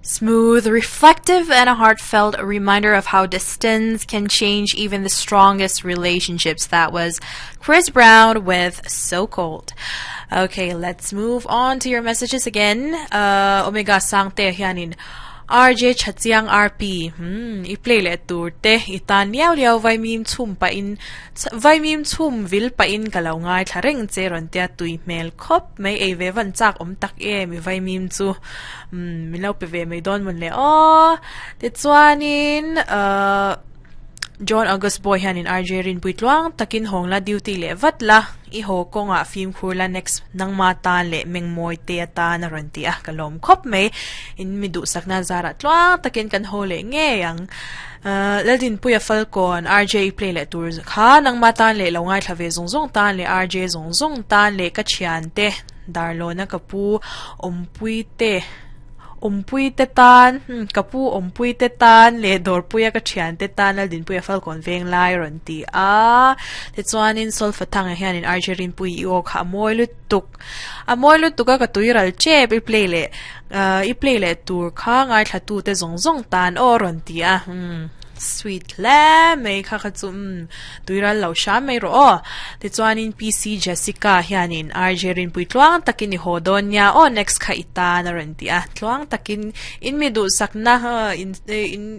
Smooth, reflective, and a heartfelt reminder of how distance can change even the strongest relationships. That was Chris Brown with So Cold. Okay, let's move on to your messages again. Uh, Omega Sangte hianin RJ Chachiang RP hmm i play leh tur te i tan liau liau vaimim chhum pah in vaimim chhum vil pah in ka lo ngaithla reng che rawn tia tui hmel khawp mai ei ve van chak awm tak em i vaimim chu umm min lo pe ve mai dawn mawn le aw tichuanin ahh John August Boy hianin RJ Rinpui tluang takin hawng la duty leh vat la, i haw kawngah fimkhur la next nangma tan leh Mengmawi te atan a rawn ti a, ka lawm khawp mai. In mi duhsakna zarah tluang takin kan haw leh ngei ang. Laldinpuia Falkawn RJ i play leh tur kha nangma tan leh lo ngaithla ve zawng zawng tan leh RJ zawng zawng tan leh ka thiante Darlawna ka pu Awmpui te Awmpui te tan, ka pu awmpui te tan leh dawrpuia ka thian te tan Laldinpuia Falkawn veng lai a rawn ti a. Tichuanin Solfa Thanga hianin RJ Rinpui i aw kha a mawi lutuk. A mawi lutuk a ka tui ral tep i play leh i play leh tur kha ngaithla tu te zawng zawng tan aw a rawn ti a. Sweet hle mai kha kha chu umm tui ral lo hram mai rawh aw. Tichuanin PC Jessica hianin RJ Rinpui tluang takin i haw dawn nia aw next kha i tan a rawn ti a. Tluang takin in mi duhsakna in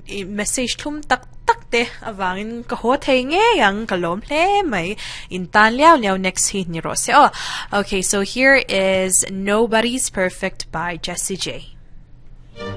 in message thlum tak tak te avangin ka haw thei ngei ang ka lawm hle mai. In tan liau liau next hi ni rawh se aw. Okay so here is Nobody's Perfect by Jessie J.